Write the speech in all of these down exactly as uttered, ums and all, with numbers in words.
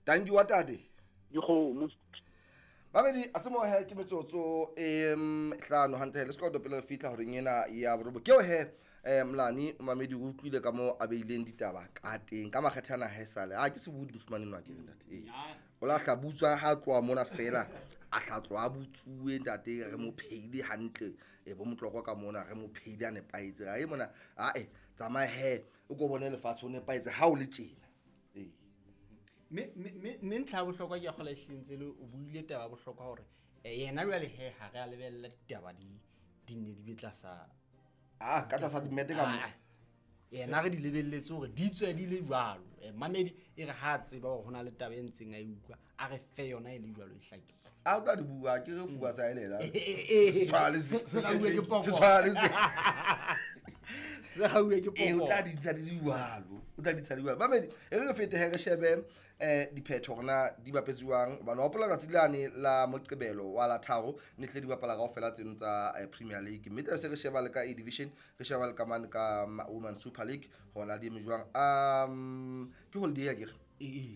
Tanki wa tate. Dikgomo. Mamedi a se mo he ke metsotso e hlano hantle le sekoto pele re fihla horeng ena ya borobo. Ke o he eh Mlani mamedi o utlwile ka mo a beileng ditaba ka teng ka makgethana ha esale. A ke se budi moshemane nwa ke ntate. Eh. O la hla butswa ha tloha mona fela a hla tloha butsuwe ntate re mo pheile hantle e bo motloko ka mona re mo pheile a nepaetse. Ha e mona a e tsamaya he o ko bone lefatshe o nepaetse ha o le tjena. Eh. Me me me ntlha ya bohlokwa ke ya kgola ehlile le o buile taba ya bohlokwa hore yena jwale he ha re a lebella ditaba di di ne di be tlasa ah ka tlasa dimete ka mo yena re di lebelletse hore di tswe di le jwalo. Mamedi e re ha tseba hore hona le taba e ntseng a e utlwa a re fe yona e le jwalo e hlakile. A o tla di bua ke re fuwa sa elela. Se rauwe ke poko. Se tshwale se. Se rauwe ke poko. E o tla di ntsha di jwalo. O tla di ntsha di jwalo. Mamedi e re fete he re shebe eh diphetho rona di bapetsiwang bana hopola tsatsi lane la Moqebelo wa la tharo ne tle di bapala kaofela tseno tsa Premier League mme tla se re sheba le ka A Division re sheba le ka mane ka Women Super League hona di eme jwang. Um ke holiday ya kere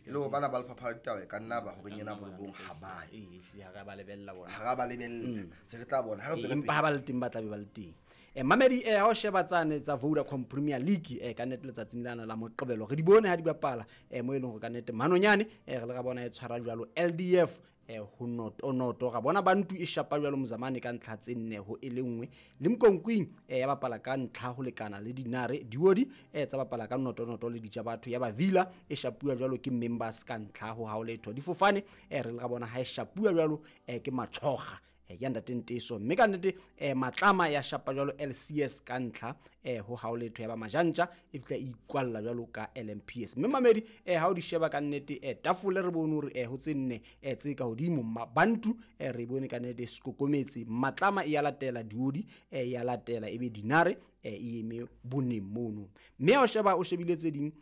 le bana ba lefapha la ditaba ka nna ba horeng ena borobong ha ba e hle ha ba lebella bona ha ba lebella se re tla bona ha re tswele empa ha ba le teng ba tla be ba le teng. Eh mamedi eh ha o sheba tsane tsa Vodacom Premier League eh ka nnete letsatsing lana la Moqebelo re di bone ha di bapala eh mo e leng hore ka nnete Manonyane eh re le ra bona e tshwara jwalo L D F eh ho noto noto ra bona bantu e shapa jwalo Mzamane ka ntlha tse nne ho e le nngwe le Mkonkwing eh ya bapala ka ntlha ho lekana le Dinare Diodi eh tsa bapala ka noto noto le ditja batho ya ba Villa e shapuwa jwalo ke Members ka ntlha ho haoletho difofane eh re le ra bona ha e shapuwa jwalo eh ke Machoga ya ntate Nteso mme ka nnete eh Matlama ya shapa jwalo L C S ka ntlha eh ho haoletho ya ba Majantja e fihla e ikwalla jwalo ka L M P S mme mamedi eh ha o di sheba ka nnete eh tafole re bone hore eh ho tse nne eh tse ka hodimo Bantu eh re bone ka nnete Skokometse Matlama e ya latela Diodi eh ya latela ebe Dinare eh e eme boneng mono mme ha o sheba o shebile tse ding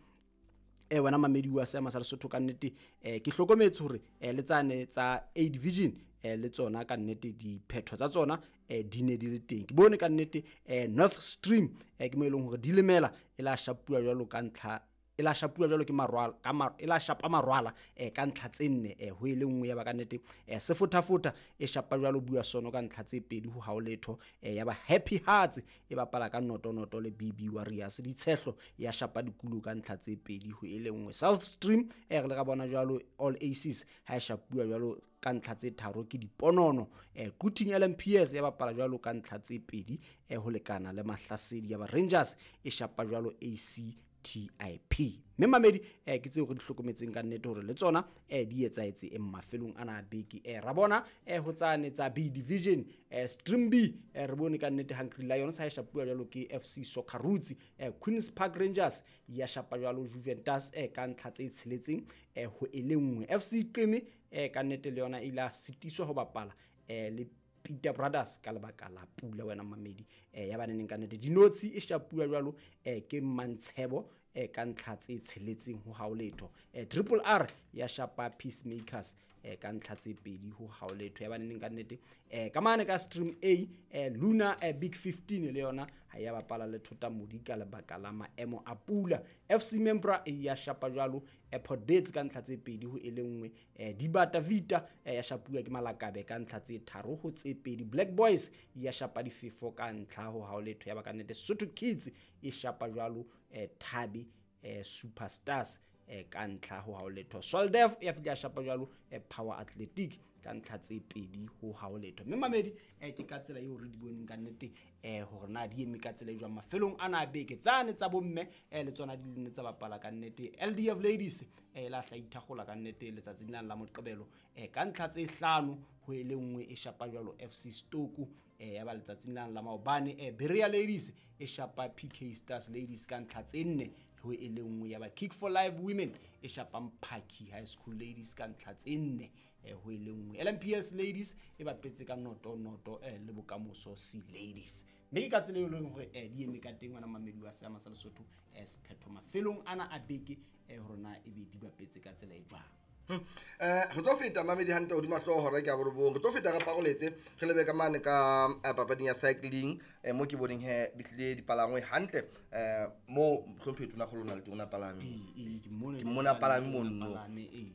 eh wena mamedi wa seema sa Lesotho ka nnete eh ke hlokometse hore eh le tsane tsa A Division eh le tsona ka nnete diphetho tsa tsona eh di ne di le teng ke bone ka nnete eh North Stream eh ke mo e leng hore di lemela e la shapuwa jwalo ka ntlha e la shapuwa jwalo ke marwala ka mar, e la shapa marwala eh ka ntlha tse nne eh ho ile nngwe ya ba ka nnete eh sefotafota e shapa jwalo bua sono ka ntlha tse pedi ho haoletho eh ya ba Happy Hearts e bapala ka noto noto le B B Warriors ditshehlo ya shapa dikulo ka ntlha tse pedi ho ile nngwe South Stream eh re le ra bona jwalo All Aces ha e shapuwa jwalo ka ntlha tse tharo ke diponono eh Quthing L M P S ya bapala jwalo ka ntlha tse pedi eh ho lekana le Mahlasedi ya ba Rangers e shapa jwalo A C T I P mme mamedi eh ke tseo re di hlokometseng ka nnete hore le tsona eh di etsaetse e mafelong ana a beke eh ra bona eh ho tsane tsa B Division eh Stream B eh re bone ka nnete Hungry Lions ha e shapuwa jwalo ke F C Soccer Roots eh Queens Park Rangers ya shapa jwalo Juventus eh ka ntlha tse tsheletseng eh ho e le nngwe F C Qeme eh ka nnete le yona ile a sitiswa ho bapala eh le Peter Brothers ka lebaka la pula wena mamedi eh ya baneneng ka nnete Dinotsi e shapuwa jwalo eh ke Mantshebo eh ka ntlha tse tsheletseng ho haoletho eh Triple R ya shapa Peacemakers eh ka ntlha tse pedi ho haoletho ya baneneng ka nnete eh ka mane ka Stream A eh Luna eh Big fifteen le yona ha ya bapala le Thota Modi ka lebaka la maemo a pula F C Membra ya shapa jwalo Airport Beds ka ntlha tse pedi ho e le nngwe eh Dibata Vita eh ya shapuwa ke Malakabe ka ntlha tse tharo ho tse pedi Black Boys ya shapa difefo ka ntlha ho haoletho ya ba ka nnete Sotho Kids e shapa jwalo eh Thabi eh Superstars eh ka ntlha ho haoletho Soldef ya fihla shapa jwalo eh Power Athletic ka ntlha tse pedi ho haoletho mme mamedi eh ke ka tsela eo re di boneng ka nnete eh hore na di eme ka tsela e jwang mafelong ana a beke tsane tsa bomme eh le tsona di ne tsa bapala ka nnete L D F Ladies eh la hla ithagola ka nnete letsatsing la la Moqebelo eh ka ntlha tse hlano ho e le nngwe e shapa jwalo F C Stoku eh ya ba letsatsing la la maobane eh Berea Ladies e shapa P K Stars Ladies ka ntlha tse nne ho e le nngwe ya ba Kick for Life Women e shapa Mphaki High School Ladies ka ntlha tse nne eh ho e le nngwe L M P S Ladies e bapetse ka noto noto eh le Bokamoso C Ladies mme ke ka tsela e leng hore eh di eme ka teng ngwana mamedi wa seama sa Lesotho eh sephetho mafelong ana a beke eh hore na e be di bapetse ka tsela e jwang. Eh re tlo feta mamedi hantle hodima hlooho hora ke a borobong re tlo feta re paroletse re lebe ka mane ka papading ya cycling eh mo ke boneng he di tlile dipalangwe hantle eh mo hlomphetho na kgolona le teng ona palame e ke mona ke mona palame mono.